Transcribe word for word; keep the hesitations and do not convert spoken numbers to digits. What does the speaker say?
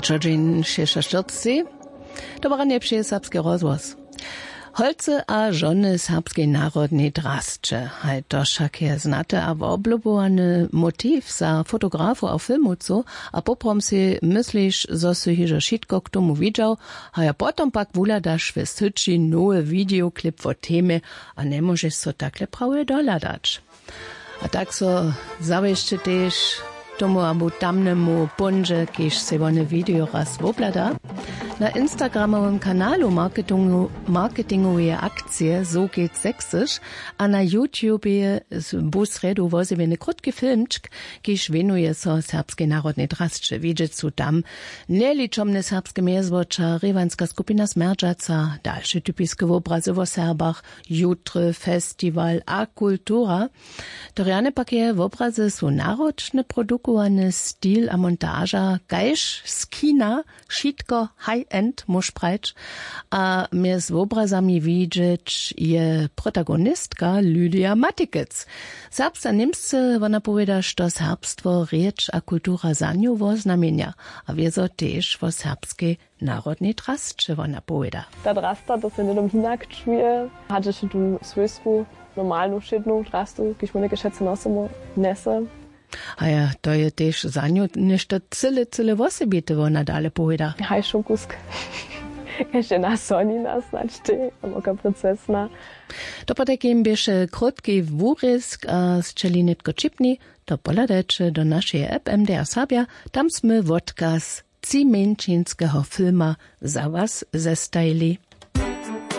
Čodźeń šěsćaštyrcci. Dobre ranje přeje serbski rozhłos. Holcy a žony serbskej narodnej drasće, haj to wšak je znate a woblubowany motiw za fotografow a filmowcow. A poprawom sej mysliš, zo sy hižo wšitko k tomu widźał, haj a potom pak wuhladaš w syći nowy wideoklip wo temje a njemóžeš so takle prawje dohladać. A tak so zawěsće tež tomu abo tamnemu póńdźe, kiž sej wone video raz wobhlada. Na instagramowym kanalu marketingu marketingoweje akcije sogit sexyš a na youtubie bu srjedu wozjewjeny krótki filmčk, kiž wěnuje so serbskej narodnej drasće. Widźeć su tam njeličomne serbske mjezwoća, rěwanska skupina smjerdźaca, dalše typiske wobrazy wo serbach, jutry festiwal a kultura. To rjane pak je wobrazy su naročne, produkowany stil a montaža kaž z kina, wšitko high end móž prajć. A mjez wobrazami widźeć je protagonistka lydija matikec. Serbsce a němsce wona powěda, što serbstwo, rěč a kultura za nju woznamjenja, a wězo tež wo serbskej narodnej drasće wona powěda. Ta drasta, to se hnydom hinak čuje, hač ešte tu swójsku normalnu wšědnu drastu, kiž my něke wšetcy nosymy, njese. A ja, to je tež za nju něšto cyle cyle wosebite, wona dale powěda. Haj šokusk. Kaž je na sonina snadź tej, abo ka princesna. To potajkim běše krótki wurězk a sćeli nětko ćipni, to pohladajće do našeje app mdr serbja. Tam smy wotkaz třimjeńšinskeho filma za was zestajili.